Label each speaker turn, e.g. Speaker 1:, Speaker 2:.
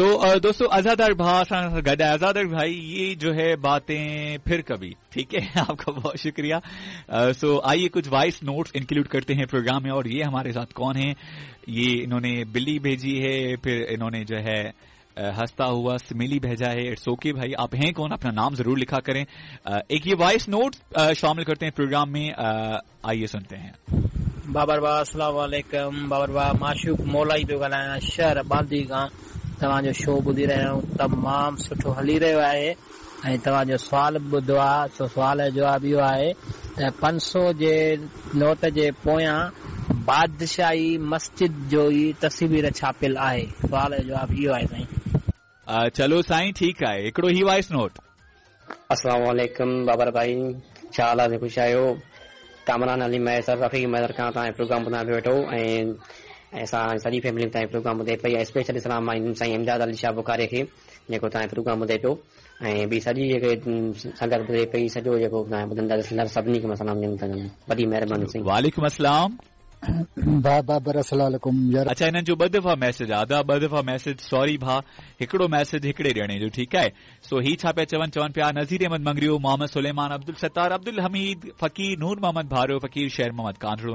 Speaker 1: सो दोस्तों, अजादार भाई असां सां गॾु आहे। अजादार भाई, ये जो है बातें फिर कभी, ठीक है। आपका बहुत शुक्रिया। सो आइए कुछ वॉइस नोट्स इंक्लूड करते हैं प्रोग्राम में। और ये हमारे साथ कौन है? ये इन्होंने बिल्ली भेजी है, फिर इन्होंने जो है हंसता हुआ स्मिली भेजा है। It's okay भाई, आप हैं कौन, अपना नाम जरूर लिखा करें। एक ये वॉइस नोट शामिल करते हैं प्रोग्राम में, आइए सुनते हैं।
Speaker 2: बाबर भाउ, अस्सलाम वालेकुम। बाबर भाउ, माशूक मौलाई पियो ॻाल्हायां, शहर बांदी खां। तव्हांजो शो ॿुधी रहिया आहियूं, तमामु सुठो हली रहियो आहे। ऐं तव्हांजो सुवाल ॿुधो आहे, सो सुवाल जो जवाबु इहो आहे त 500 जे नोट जे पोयां बादशाही मस्जिद जो ई तस्वीर छापियल आहे। सुवाल जो जवाबु इहो आहे साईं।
Speaker 1: चलो साईं, ठीक आहे। हिकिड़ो ही वॉइस नोट।
Speaker 3: अस्सलाम वालेकुम बाबर भाई, छा हाल आहे? ख़ुशि आहियो? कामरान अली मैसर, रफ़ीक मैसर खां तव्हां प्रोग्राम ॿुधायां पियो वेठो ऐं असां सॼी फैमिली तव्हां प्रोग्राम ॿुधे पई। स्पेशली सलाम आहिनि साईं इमदाद अली शाह बुखारी खे, जेको तव्हां प्रोग्राम ॿुधे पियो, ऐं ॿी सॼी जेके संगत ॿुधे पई, सॼो जेको तव्हां ॿुधंदा सभिनी खे मां सलाम ॾियनि था। वॾी महिरबानी साईं।
Speaker 1: वालेकुम अस्सलाम।
Speaker 4: भा बाबर, अस्सलाम वालेकुम यार।
Speaker 1: अच्छा, हिननि जो 2 दफ़ा मैसेज आहे, अदा 2 दफ़ा मैसेज, सॉरी भा, हिकिड़ो मैसेज हिकिड़े ॼणे जो, ठीक आहे। सो ही छा पिया चवनि? चवनि पिया नज़ीर अहमद मंगरियो, मोहम्मद सुलेमान, अब्दुल सत्तार, अब्दुल हमीद फ़कीर, नूर मोहम्मद भारो, फ़कीर शेर मोहम्मद कांधड़ो।